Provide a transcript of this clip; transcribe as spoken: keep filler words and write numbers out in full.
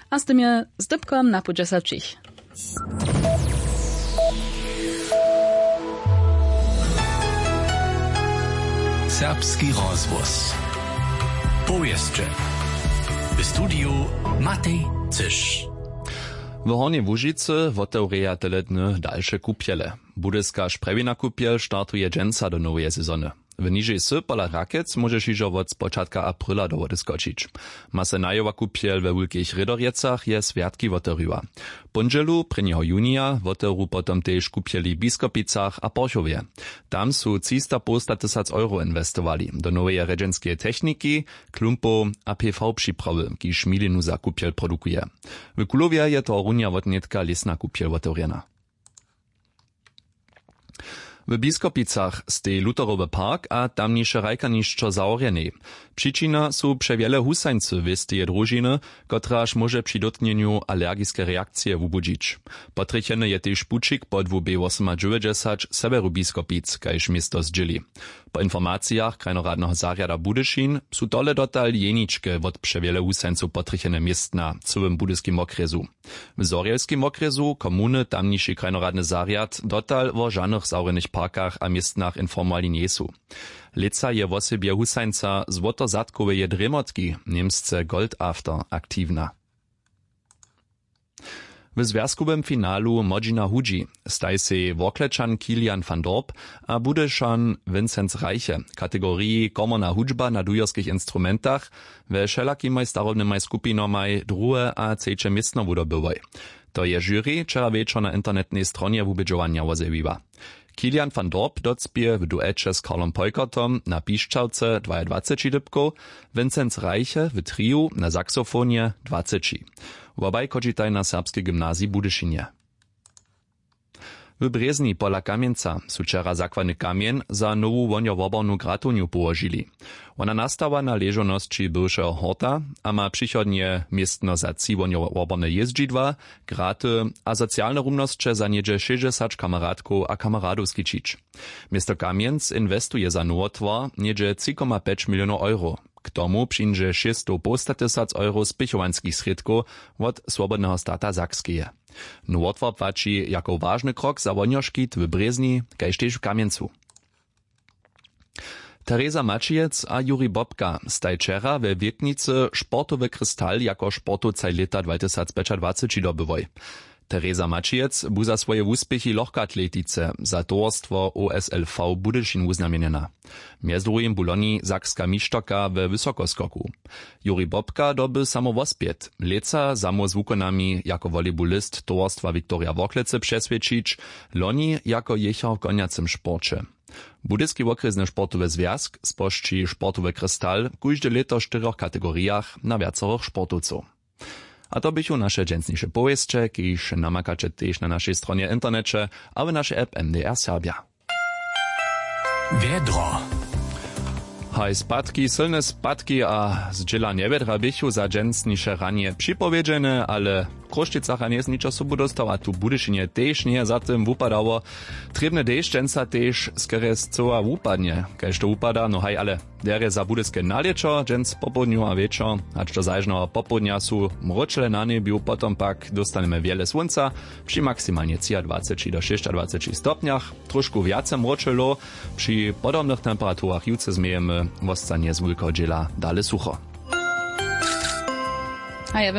A z tym je z dypkom na pół dźesaćich. Serbski rozhłos. Powěsće. W studiju Matej Cyš. W Hornjej Łužicy wotewrjeja tele dny dalše kupjele. Budyska Sprjewina kupjel startuje dźensa do noweje sezony. W nižej sy pola Rakec móžeš hižo wot spočatka aprila do wody skočić. Ma so najowa kupjel we Wulkich Rědorjecach je swjatki wotewriła. Póndźelu prěnjeho junija wotewru potom tež kupjeli w Biskopicach a Porchowje. Tam su třista połsta tysac euro inwestowali do noweje rjedźenskeje techniki, klumpow a P V připrawy, kiž milinu za kupjel produkuje. W Kulowje je tohorunja wotnětka lěsna kupjel wotewrjena. W Biskopicach steji Lutherowy park a tamniše hrajkarnišćo zahorjenej. Přičina su přewjele husańcy wěsteje družiny, kotraž móže při dótnjenju alergiske reakcije wubudźić. Potrjecheny je tež pućik po dwu bě wosomadźewjećdźesać w sewjeru Biskopic, kaž město zdźěli. Po informacijach krajnoradneho zarjada Budyšin su tole dotal jeničke wot přewjele husańcow potrjechene městna w cyłym budyskim wokrjesu. W zhorjelskim wokrjesu komuny tamniši krajnoradny zarjad dotal wo žanych zahorjenych parkach a městnach informowali njejsu. Lětsa je wosebje husańca złotozadkoweje drěmotki, němsce Goldafter, aktiwna. W zwjazkowym finalu młodźina hudźi staj sej Worklečan Kilian van Dorp a Budyšan Vincenz Reiche w kategoriji komorna hudźba na dujerskich instrumentach we wšelakimaj starobnymaj skupinamaj druhe a třeće městno wudobyłoj. To je žuri wčera wječor na internetnej stronje wubědźowanja wozjewiła. Kilian van Dorp docpěje w dueće z Karlom Peukertom na pišćawce dwajadwaceći dypkow, Vincenz Reiche w triju na saxofonje dwaceći. Wobaj chodźitaj na Serbskej gymnaziji w Budyšinje. W Brězni pola Kamjenca su wčera zakładny kamjeń za nowu wohnjowobornu gratownju połožili. Wona nastawa na ležownosći bywšeho horta a ma přichodnje městno za tři wohnjowoborne jězdźidła, graty a socialne rumnosće za něhdźe šěsćdźesać kameradkow a kameradow skićić. Město Kamjenc inwestuje za nowotwar něhdźe tři koma pjeć milionow euro. K tomu přińdźe šěsćstow połsta tysac euro spěchowanskich srědkow wot Swobodneho stata Sakskeje. Nowotwar płaći jako wažny krok za wohnjoškit w Brězni kaž tež w Kamjencu. Tereza Maćijec a Juri Bobka staj wčera we Wětnicy sportowy krystal jako sportowcaj lěta dwatysacpjećadwaceći dobyłoj. Tereza Maćijec bu za swoje wuspěchi w lochkoatletice za towarstwo O S L V Budyšin wuznamjenjena. Mjez druhim bu loni sakska mišterka we wysokoskoku. Juri Bobka doby samo wospjed, lětsa samo z wukonami jako volejbulist towarstwa Viktoria Worklecy přeswědčić, loni jako jěchar w konjacym sporće. Budyski wokrjesny sportowy zwjazk spožči sportowy krystal w kóžde lěto w štyrjoch kategorijach na wjacorych sportowcow. A to běchu naše dźensniše powěsće, kiž namakaće tež na našej stronje w interneće a w našej app M D R Serbja. Wjedro. Haj, spadki, sylne spadki a zdźěla njewjedra běchu za dźensniše ranje připowědźene, ale w Chrósćicach a njejsym ničo sobu dóstał a tu w Budyšinje tež njeje za tym wupadało. Trěbny dešć dźensa tež skerje scyła wupadnje, kaž to wupada, no haj, ale derje za budyske nalěćo dźens popołdnju a wječor, hač do zažneho popołdnja su mróčele na njebju, potom pak dóstanemy wjele słónca při maksimalnje třiadwaceći do šěsćadwaceći stopnjach. Trošku wjace mróčelow, při podobnych temperaturach jutře změjemy, wostanje z wulkeho dźěla dale sucho. A ja